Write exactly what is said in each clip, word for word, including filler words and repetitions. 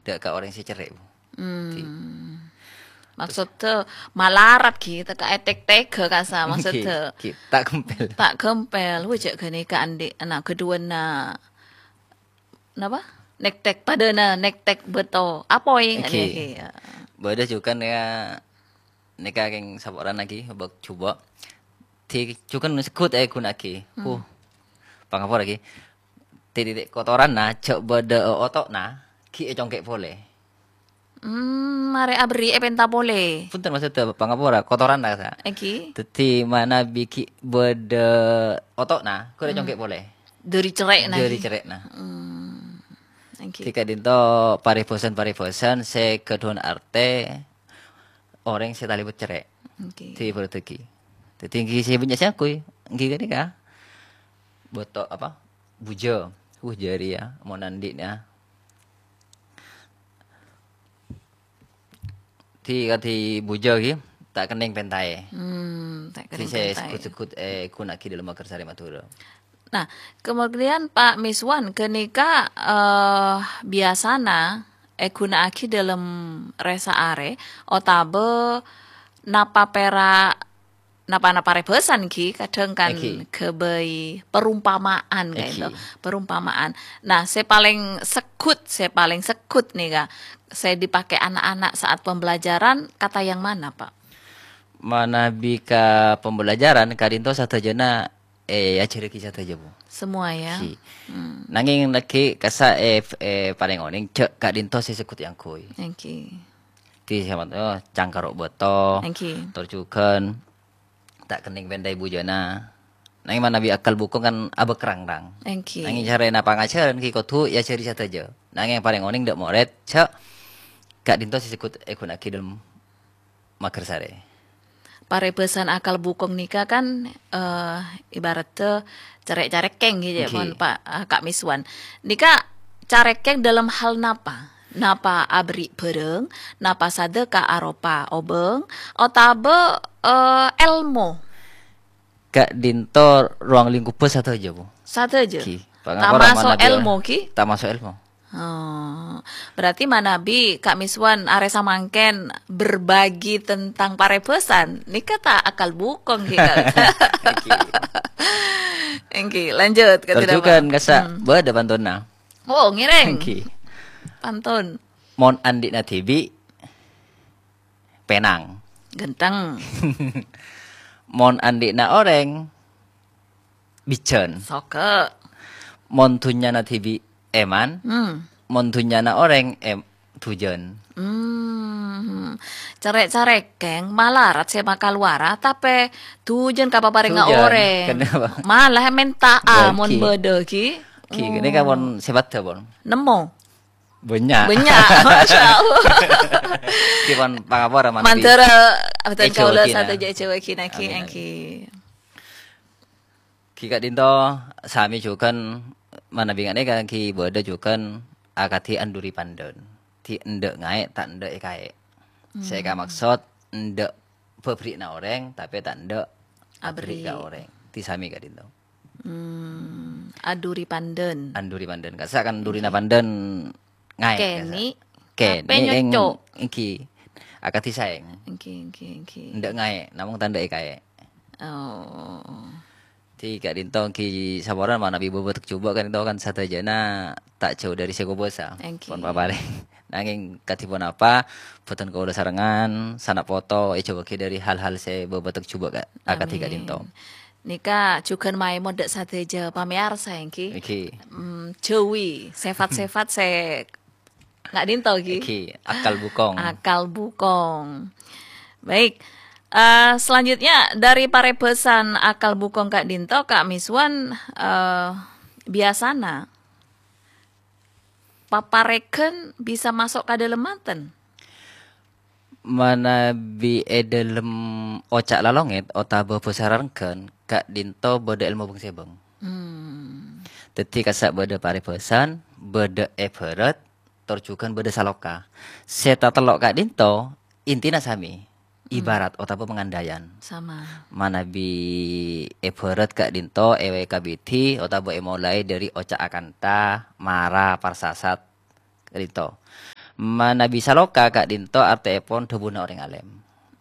dâ' ka orèng sè cerrè', Bu. Hmm. Maksodda malarat ghi, teka etek tega kasa, maksodda. Ghi, ghi, ta' gempel. Ta' gempel. Wah, jhâ' ghânèka andi' ana' ghâdhuwânna, napa? Nektek, padâna nektek bâto. Apoy, Ghi. Ghânèka, ya. Bâdâ jhughân ya, nèka kèng saporana ghi, bâk jhubâ'. Di jhughân segghut èghunaaghi. Hmm. Huh. Pangapora ghi. Di titik kotoranna, jhâ' bâdâ oto'na, ghi ècongkè' polè. Hmm, marè aberri' èpènta polè. Punten, maksodda pangapora, kotoranna, sa. Èngghi. Dhâddhi manabi ghi' bâdâ oto'na, ghun Hmm. ècongkè' polè. Dâri cerrè'na, Dâri ghi? Cerrè'na. Hmm, èngghi. Di ka'dinto parèbhâsan-parèbhâsan sè ghâdhuwân artè orèng sè talèbât cerrè'. Èngghi. Di ibarataghi. Dhâddhi èngghi sè bânnya' sè ngangguy, èngghi ghânèka. Bâto apa? Bujâ. Wuh, jârèya, mon andi'na. Di, kadhi bujâ ghi, ta' kennèng pèntaè. Hmm, ta' Di kennèng sè pèntaè. Segghut-segghut èghunaaghi dâlem maghârsarè Madhurâ. Nah, kemudian Pak Miswan, ghânèka, eh, biyasana èghunaaghi dâlem rèsa arè otabâ napa pèra', napa-napa parèbhâsan ghi, kadhâng kan Èngghi. Ghâbây perumpamaan, Èngghi. Ka'dinto, perumpamaan. Nah, sè palèng segghut, sè palèng segghut nèka, sè dipakè ana'-ana' saat pembelajaran, kata yang mana, Pak? Manabi ka pembelajaran, ka'dinto sadhâjâna, eh, èajhârraghi sadhâjâ, Bu. Semua, ya? Ghi. Hmm. Nangèng lagghi' kassa', eh, f-, eh, parèng onèng, jhâ' ka'dinto sè segghut èangghuy. Èngghi. Di sè, oh, cangkaro' bâto, Èngghi. Tor jhughân, ta' kennèng pèntaè bujâna. Nangèng manabi akal bukong kan abâkrang-rang. Èngghi. Nangèng carana pangajhârân ghi kodhu èajhâri sadhâjâ. Nangèng parèng onèng dâ' morèd, jhâ' ka'dinto sè segghut èghunaaghi dâlem maghârsarè. Parèbhâsan akal bukong nèka kan, eh, ibaratta carè'-carèkèng ghi, Èngghi. Mon, Pak, eh, Ka' Miswan. Nèka carèkèng dâlem hal napa? Napa aberri' bhârâng, napa sadhâka aropa obâng, otabâ, eh, èlmo? Ka'dinto ruang lingkubbhâ sadhâjâ, Bu. Sadhâjâ? Ghi. Pangapora Tamaso' manabi èlmo, ghi? Tamaso' èlmo. Oh, berarti manabi Ka' Miswan arè samangkèn berbagi tentang parèbhâsan. Nèka ta' akal bukong, ghi, Ka'? Èngghi. Èngghi, lanjut, Ka' Tor Dira, jhughân Pak. Kassa' Hmm. bâdâ pantonna. Oh, ngèrèng. Èngghi. Pantun. Mon andi'na dhibi', pènang. Ganteng. Mon andi'na orèng, bijhân. Soka. Mon dhunnyana dhibi' èman, Hmm. mon dhunnyana orèng, em-, dhujân. Hmm. Carè'-carèkèng malarat sè makalowara, tapè dhujân kapaparènga Dhujân. Orèng. Kenapa? Malah mènta Bon, mon ghi. Bâdâ, ghi. Ghi, ini kan Oh. Pon sè bâdâ, Pon. Nemmo. Bânnya'. Bânnya', masya Allah. Ghi pon pangapora manabi. Mandhâr, abdhân Èjhâ kaulâ wagina. Sadhâjâ èjhâ wagina, ghi, Amin, amin. Èngghi. Ghi ka'dinto sami jhughân manabi nganèka ghi bâdâ jhughân akadhi anduri pandân. Di endâ' ngaè', ta' endâ' èkaè'. Sè Hmm. èkamaksod endâ' bâbâri'na orèng, tapè ta' endâ' abâri' ka Abâri'. Orèng. Di sami ka'dinto. Hmm, aduri pandân. Anduri pandân. Kassa' kan durina Èngghi. Pandân ngaè', Kènè', kassa'. Kènè', tapè èng-, nyocok. Èngghi. Akadhi saèng. Èngghi, èngghi, èngghi. Endâ' ngaè', namong ta' endâ' èkaè'. Oh. Di ka'dinto èngghi saporana manabi bâbâtek jhubâ' ka'dinto kan sadhâjâna ta' jhâu dâri sè kobâsa. Èngghi. Pon paparèng. Nangèng kadhi ponapa, bhâdhân kaulâ sarèngan, sana' poto, èjhâuwaghi dâri hal-hal sè bâbâtek jhubâ' ka-, akadhi Amin. Ka'dinto. Nèka jhughân maèmot dâ' sadhâjâ pamèyarsa, èngghi. Èngghi. Mm, jhâuwi sèfat-sèfat sè ka'dinto, ghi. Èngghi, akal bukong. Akal bukong. Baik. Eh, selanjutnya, dâri parèbhâsan akal bukong ka'dinto, Ka' Miswan, eh, biyasana paparèghân bisa maso' ka dâlem manten? Manabi è dâlem oca' lalongèt otabâ bhâsa rarengghân, ka'dinto bâdâ èlmo bâng-sèbâng. Hmm. Dhâddhi kassa' bâdâ parèbhâsan, bâdâ èbhârât, tor jhughân bâdâ saloka. Sè tatello' ka'dinto intina sami, Hmm. ibarat otabâ pangandhâyan. Sama. Manabi èbhârât ka'dinto èwèkabidi otabâ èmolaè dâri oca' akanta, mara, parsasat, ka'dinto. Manabi saloka ka'dhinto artèèpon dhâbuna orèng alèm.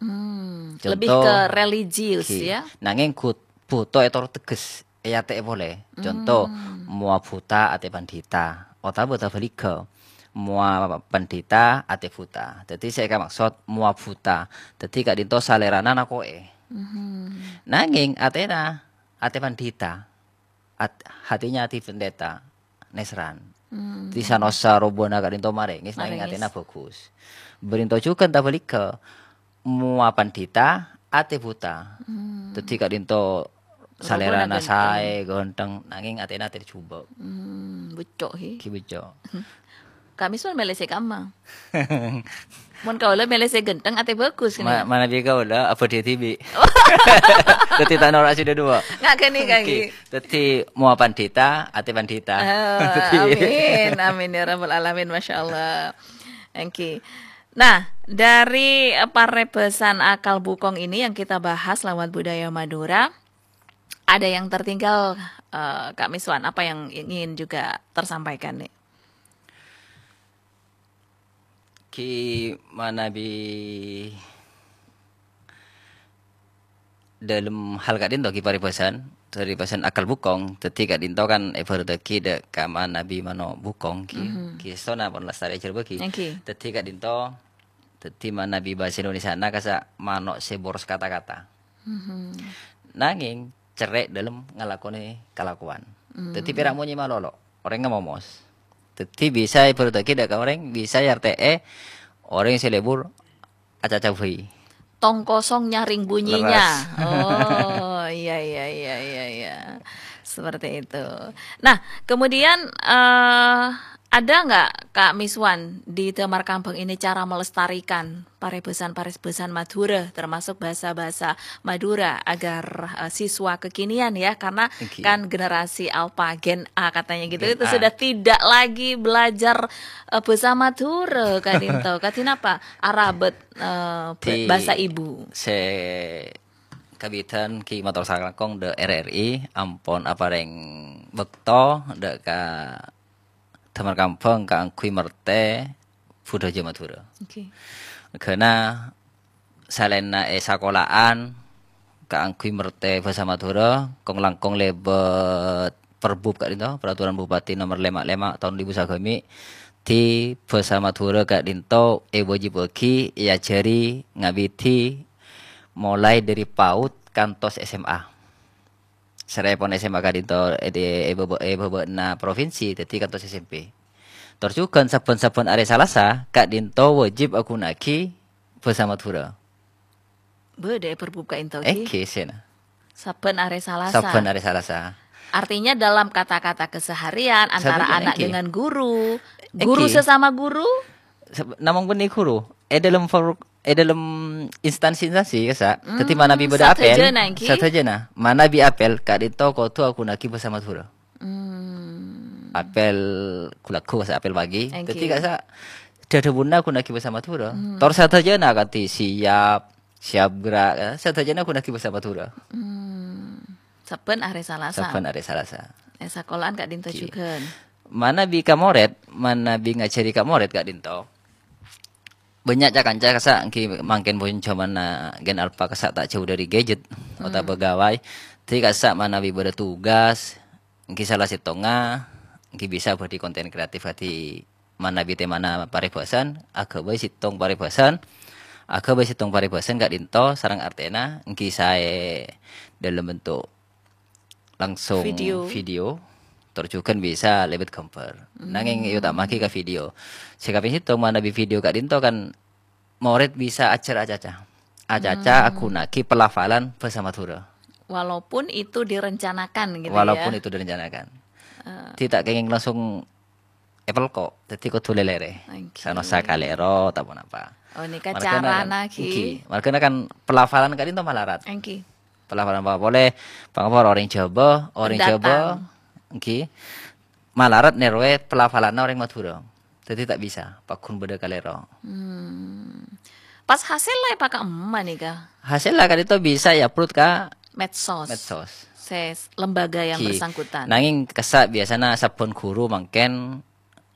Hmm, lebih Conto, ke religius, ghi, ya? Nangèng gu-, bhuto ètoro' tegges, èatè'è polè. Conto, Hmm. mowa bhuta atè pandhita, otabâ tabhâligghâ, mowa pandhita atè bhuta. Dhâddhi sè èkamaksod mowa bhuta. Dhâddhi ka'dhinto salèrana nako'è. Mhm. Nangèng atèna atè pandhita. At-, hatinya hati pendeta, Nesran. Hmm. Ti sanosa robâna ka'dhinto marèngès, nangèng Marèngès. atèna bhâghus. Bârinto jhughân tabhâligghâ, mowa pandhita, atè bhuta. Hmm. Dhâddhi ka'dhinto Robâna salèrana ghântheng. saè, ghântheng, nangèng atèna atè jhubâ'. Hmm, bucco', he. Ghi bucco'. Ka'mèsan mèlè sè kamma. Mon kaulâ mèlè sè ghântheng, atè bhâghus, Ma-, kènè. manabi kaulâ abâdhi dhibi'. Dhâddhi ta' noro' sè duwâ'. Nga' ghânèka, Oke. ghi. Dhâddhi mowa pandhita, atè pandhita. Ah, Dhâddhi amin, amin, ya rabbal alamin, masya Allah. Oke. Nah, dari, eh, parèbhâsan akal bhukong ini yang kita bahas lewat budaya Madura, ada yang tertinggal, eh, Ka'misuan, apa yang ingin juga tersampaikan, nih? Ghi manabi dâlem hal ka'dhinto ghi parèbhâsan, parèbhâsan akal bhukong. Dhâddhi ka'dhinto kan èbhârâttaghi dâ' ka manabi mano' bhukong ghi, Mhm. ghi sona pon lastarè jhârbâ ghi. Ghi. Dhâddhi ka'dhinto, dhâddhi manabi bhâsa Indonesiana kassa' mano' sè boros kata-kata. Mhm. Nangèng cerrè' dâlem ngalakonè kalakowan. Dhâddhi Hmm. pèra' monyè malolo, orèngnga momos. Dhâddhi bisa èbhârâttaghi dâ' ka orèng, bisa èartè'è orèng sè lebur acaca bhâi. Tong kosong nyaring bunyinya. Leres. Oh, iya, iya, iya, iya, iya. Seperti itu. Nah, kemudian, eh, ada nggak, Ka'misuan, di Damar Kambang ini cara melestarikan parèbhâsan-parèbhâsan Madhurâ, termasuk bahasa-bahasa Madura, agar, eh, siswa kekinian, ya, karena Oke. kan generasi alfa, Gen A katanya gitu, Gen itu A. sudah tidak lagi belajar, eh, bahasa Madhurâ, ka'dhinto. Ka'dhinto apa? Arabât, eh, ba-, Di bahasa ibu. sè kabidhân ghi mator sakalangkong dâ' R R I ampon aparèng bâkto dâ' ka Damar Kambang kaangghuy mertè budhâjâ Madhurâ. Oke. Ghâna salaènna è sakola'an kaangghuy mertè bhâsa Madhurâ, kong-langkong lèbât perbub ka'dhinto, Peraturan Bupati Nomor lèma' lèma' taon duwâ èbu sagâmè', dhâddhi bhâsa Madhurâ ka'dhinto èwâjibhâghi èajhâri ngabidhi molaè dâri PAUD kantos S M A. Sarèpon S M A ka'dhinto è, è, è bâbâ-, è bâbâna provinsi, dhâddhi kantos S M P. Tor jhughân sabbhân-sabbhân arè Salasa ka'dhinto wâjib aghunaaghi bhâsa Madhurâ. Bâdâ è perbub ka'dhinto, ghi? Èngghi, sèna. Sabbhân arè Salasa. Sabbhân arè Salasa. Artinya dalam kata-kata keseharian antara Sabbhân anak èngghi. dengan guru, guru Èngghi. sesama guru? Sab-, namong bânnè guru. È dâlem for-, è dâlem instansi-instansi, kassa'. Dhâddhi Hmm, manabi bâdâ apel, sadhâjâna èngghi. sadhâjâna. Manabi apel, ka'dhinto kodhu aghunaaghi bhâsa Madhurâ. Hmm. Apel gu-lagghu, kassa' apel pagi. Èngghi. Dhâddhi, kassa', dhâdhâbuna aghunaaghi bhâsa Madhurâ. Hmm. Tor sadhâjâna kadhi siap, siap gerak, eh, sadhâjâna aghunaaghi bhâsa Madhurâ. Hmm. Sabbhân arè Salasa. Sabbhân arè Salasa. È sakola'an ka'dhinto Oke. jhughân. Manabi ka morèd, manabi ngajhâri ka morèd ka'dhinto. Bânnya' ca-kanca kassa' èngghi mangkèn pon jhâmanna Gen Alpha kassa' ta' jhâu dâri gadget Hmm. otabâ ghâbây. Dhâddhi kassa' manabi bâdâ tugas, èngghi sala sèttongnga, èngghi bisa bâdhi konten kreatif kadhi manabi tèmana parèbhâsan, aghâbây sèttong parèbhâsan, aghâbây sèttong parèbhâsan ka'dhinto sareng artèna èngghi saè dâlem bentuk langsung Video. video, tor jhughân bisa lèbât ghâmbhâr. Nangèng Hmm. èotama'aghi ka video. Sè kapèng sèttong manabi video ka'dhinto kan morèd bisa ajhâr acaca. Acaca Hmm. aghunaaghi pelafalan bhâsa Madhurâ. Walaupun itu direncanakan gitu Walaupun ya. itu direncanakan. Eh. Dhâddhi ta' kèngèng langsung apel kok, dhâddhi kodhu lèlèrè. Oke. Sanosa kalèro, ta' ponapa. Oh, nèka Marghâna kan, carana, ghi. èngghi. Marghâna kan pelafalan ka'dhinto malarat. Èngghi. Pelafalan apa polè, pangapor orèng Jhâbâ, orèng Jhâbâ, Pendatang. èngghi. Malarat nèrowè pelafalanna orèng Madhurâ. Dhâddhi ta' bisa, pagghun bâdâ kalèro. Hmm. Pas hasèlla èpaka'emma nèka? Hasèlla ka'dhinto bisa èupload ka Medsos. Medsos. Sè s-, lembaga yang Èngghi. bersangkutan. Nangèng kassa' biyasana sabbhân ghuru mangkèn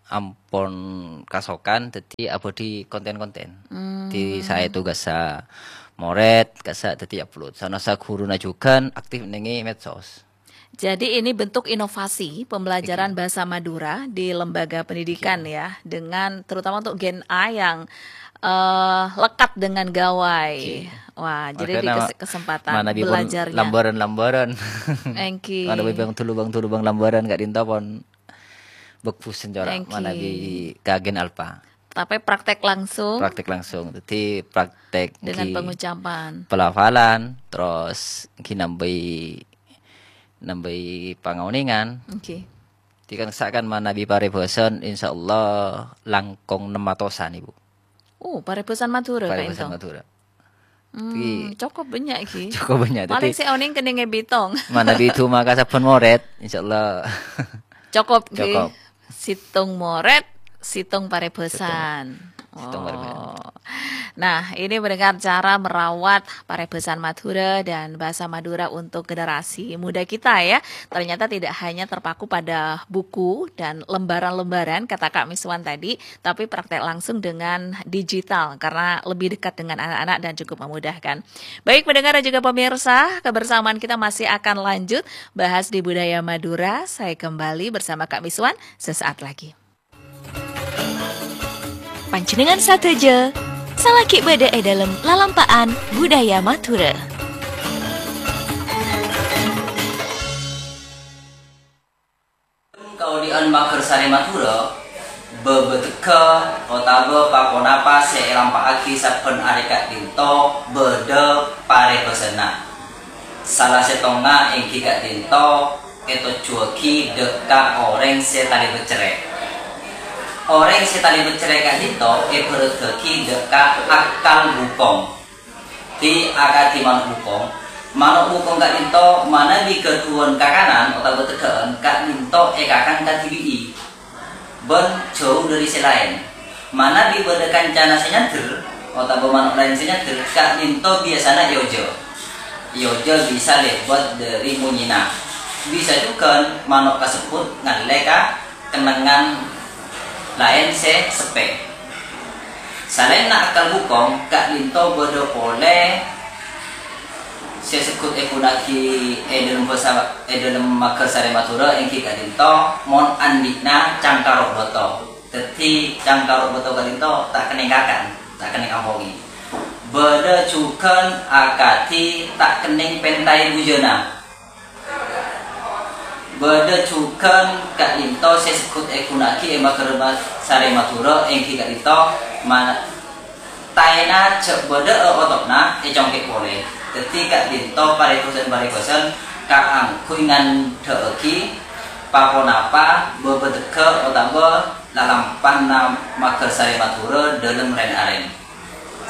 ampon kasokan, dhâddhi abâdhi konten-konten. Di saya tugas sa moret, kasa dhâddhi upload. Sana sa guruna jugan aktif nèngè medsos. Jadi ini bentuk inovasi pembelajaran bahasa Madura di lembaga pendidikan ya, dengan terutama untuk Gen A yang, eh, lekat dengan gawai. Wah, jadi di mana kesempatan mana bi pon belajarnya. Lambaran-lambaran. Enki. Mana bi bang tulu bang tulu bang lambaran ka'dinto pon bagus senjora. Enki. Mana bi ka Gen Alpha. Tapi praktek langsung. Praktek langsung. Jadi praktek dengan pengucapan. Pelafalan, terus ki nambahi nambahi pangaoningan. Oke. Di kan sakan manabi paribhâsan, insyaallah langkong nem atosan, Ibu. Oh, paribhâsan Madhurâ, Kak Paribhâsan Ento? Madhurâ. Hmm, cukup banyak, Ki. Cukup banyak. Paling sè onèng kennèngè bitong. Manabi coma ka sabbhân morèt, insyaallah. Cukup, Ki. Cukup. Sèttong morèt, sèttong paribhâsan. Sèttong paribhâsan. Oh. Nah, ini mendengar cara merawat paribhâsan Madhurâ dan bahasa Madura untuk generasi muda kita ya. Ternyata tidak hanya terpaku pada buku dan lembaran-lembaran, kata Kak Miswan tadi, tapi praktek langsung dengan digital karena lebih dekat dengan anak-anak dan cukup memudahkan. Baik, pendengar dan juga pemirsa, kebersamaan kita masih akan lanjut bahas di Budaya Madura. Saya kembali bersama Kak Miswan sesaat lagi. Panjhennengngan sadhâjâ, salaghi bâdâ è dâlem lalampa'an budaya Madhurâ. Kaodi'ân Maghârsarè Madhurâ, bâbâdhegghâ otabâ pa-ponapa sè èlampa'aghi sabbhân arè ka'dinto bâdâ parèbhâsana. Sala sèttongnga èngghi ka'dinto ètojjhuwâghi dâ' ka orèng sè talèbât cerrè'. Orèng sè talèbât cerrè' ka'dinto èbhârâddhâghi dâ' ka akkal bukong. Dhi akadhi mano' bukong. Mano' bukong ka'dinto manabi ghâdhuwân kakanan otabâ tegghâ'ân ka'dinto èkakang kadhibi'i. Bân jhâu dhâri sè laèn. Manabi bâdâ kancana sè nyandher, otabâ mano' laèn sè nyandher, ka'dinto biyasana èojhâ. Èojhâ bisa lèbât dhâri monyèna. Bisa jhughân mano' kasebbhut ngallè ka kennengngan laèn sè seppè. Salaènna akkal bukong, ka'dinto bâdâ polè sè segghut èghuna'aghi è dâlem bhâsa, è dâlem Maghârsarè Madhurâ èngghi ka'dinto, mon andi'na cangkaro' bâto. Dhâddhi, cangkaro' bâto ka'dinto ta' kennèng kakan, ta' kennèng ampongè. Bâdâ jhughân akadhi ta' kennèng pèntaè bujâna. Bâdâ jhughân ka'dinto sè segghut èghuna'aghi è Maghârsarè Madhurâ èngghi ka'dinto ma-, taèna jhâ' bâdâ'â oto'na ècongkè' polè. Dhâddhi ka'dinto parèbhâsân-parèbhâsân kaangghuy ngandhâ'aghi pa-ponapa bâbâdhegghâ otabâ lalampanna Maghârsarè Madhurâ dâlem rèn-arèn.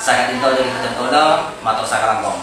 Saka'dinto dhâri bhâdhân kaulâ, mator sakalangkong.